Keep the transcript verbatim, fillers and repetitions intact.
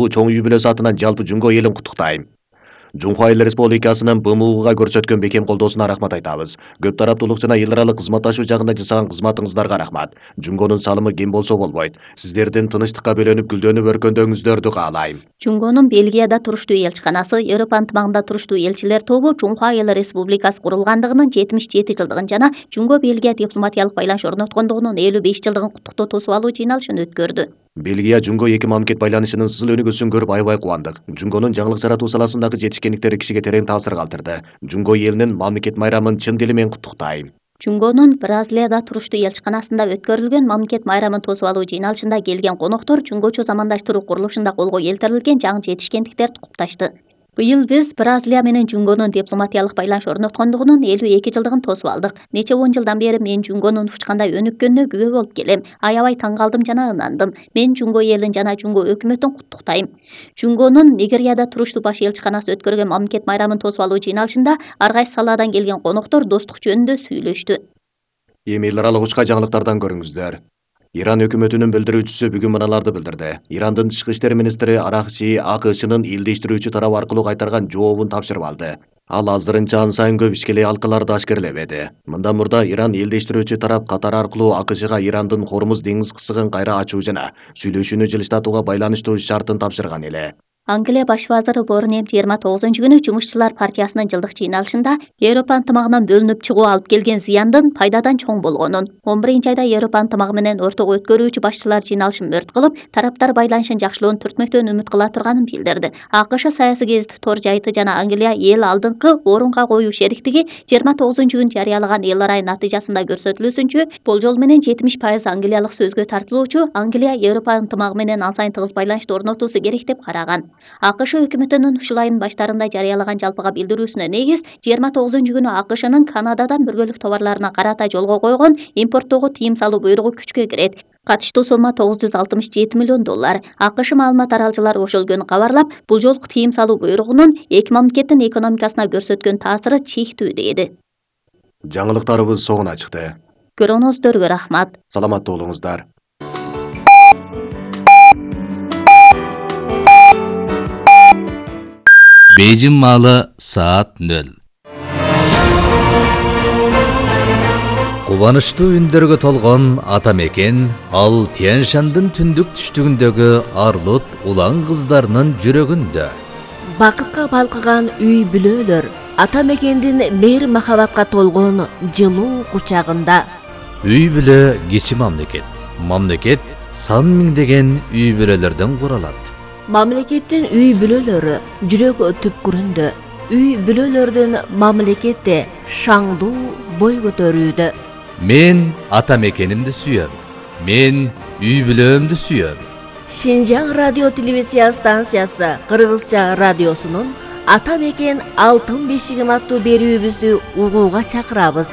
Бул чоң үй бүлөсү атынан жалпы Жунго элин куттуктайм. Жунхва Эл Республикасынын Б М Уга көрсөткөн бекем колдоосуна рахмат айтабыз. Көп тараптуулук жана эл аралык кызматташуу жагында жасаган кызматыңыздарга рахмат. Жунгонун салымы кем болсо болбойт. Сиздердин тынычтыкка бөлөнүп гүлдөнүп өркөндөөңүздөрдү каалайм. Жунгонун Бельгияда туруштуу элчиканасы, Европа ынтымагында туруштуу элчилер тобу Жунхва Эл Республикасы курулгандыгынын жетимиш жети жылдыгын жана Жунго Бельгия дипломатиялык байланыш орноткондугунун элүү беш жылдыгын куттуктоо тосуп алуу жыйналышын өткөрдү. Бельгия Жунго эки мамлекет байланышынын сызыл өнүгүүсүн көрүп аябай кубандык. Жунгонун жаңылык жаратуу саласындагы жетишкендиктери кишиге терең таасир калтырды. Жунго элинин мамлекет майрамын чын дили менен куттуктайм. Жунгонун Бразилияда туруштуу элчиканасында өткөрүлгөн мамлекет майрамын тосуп алуу жыйналышында келген коноктор жунгочу замандаштыруу курулушунда колго келтирилген жаңы жетишкендиктерди кутташты. Быйыл биз Бразилия менен Жунгонун дипломатиялык байланыш орноткондугунун элүү эки жылдыгын тосуп алдык. Нече он жылдан бери мен Жунгонун учкандай өнүккөнүнө күбө болуп келем. Аябай таң калдым жана ынандым. Мен Жунго элин жана Жунго өкмөтүн куттуктайм. Жунгонун Нигерияда туруштуу баш элчиканасы өткөргөн мамлекет майрамын тосуп алуу жыйналышында ар кайсы саладан келген коноктор достук жөнүндө сүйлөштү. Эми эл аралык учка жаңылыктардан көрүңүздөр. Иран өкмөтүнүн билдирүүчүсү бүгүн мыналарды билдирди. Ирандын тышкы иштер министри Аракчи А К Шнын илдештирүүчү тарап аркылуу кайтарган жообун тапшырып алды. Ал азырынча ан сайын көп ишкеле алкаларды ашкерлебеди. Мындан мурда Иран илдештирүүчү тарап катар аркылуу А К Шга Ирандын Хормуз деңиз кысыгын кайра ачуу жана сүйлөшүүнү жылыштатууга байланыштуу шартын тапшырган эле. Англия баш вазыры Борнем жыйырма тогузунчу күнү Жумушчулар партиясынын жылдык жыйналышында Европа ынтымагынан бөлүнүп чыгуу алып келген зыяндын пайдадан чоң болгонун, он биринчи айда Европа ынтымагы менен ортого өткөрүүчү башчылар жыйналышын мөрт кылып, тараптар байланышын жакшылоонун түртмөктөн үмүт кыла турганын билдирди. А К Ш саясий гезити Тор жайыты жана Англия эл алдыңкы орунга коюу шериктиги жыйырма тогузунчу күнү жарыялаган эл арай натыйжасында көрсөтүлүүсүнчө болжол менен жетимиш пайыз англиялык сөзгө тартылуучу Англия Европа ынтымагы менен ан сайын тыгыз байланышты орнотуусу керек деп караган. А К Ш өкмөтүнүн ушул айдын баштарында жарыялаган жалпыга билдирүүсүнө негиз жыйырма тогузунчу күнү А К Шнын Канададан бөлгөлүк товарларына карата жолго койгон импорттоого тыйым салуу буйругу күчкө кирет. Катыштуу сомма тогуз жүз алтымыш жети миллион доллар. А К Ш маалымат таралчылары ошол күнү кабарлап, бул жолку тыйым салуу буйругунун эки мамлекеттин экономикасына көрсөткөн таасиры чектүү деди. Жаңылыктарыбыз соңуна чыкты. Көрүүңүздөргө рахмат. Саламаттуу болуңуздар. Бейжин маалы саат нөл. Кубанычтуу үндөргө толгон ата мекен ал Тянь-Шандын түндүк түштүгүндөгү арлут улан кыздарынын жүрөгүндө. Бакытка балкыган үй бүлөлөр ата мекендин мейир махабатка толгон жылуу кучагында. Үй бүлө кичи мамлекет. Мамлекет сан миңдеген үй бүлөлөрдөн куралат. Мамлекеттин үй бүлөлөрү жүрөк түпкүрүндө. Үй бүлөлөрдүн мамлекетте шаңдуу бой көтөрүүдө. Мен ата мекенимди сүйөм. Мен үй бүлөмдү сүйөм. Шинжаң радио телевизия станциясы Кыргызча радиосунун Ата мекен алтын бешигим аттуу берүүбүздү угууга чакырабыз.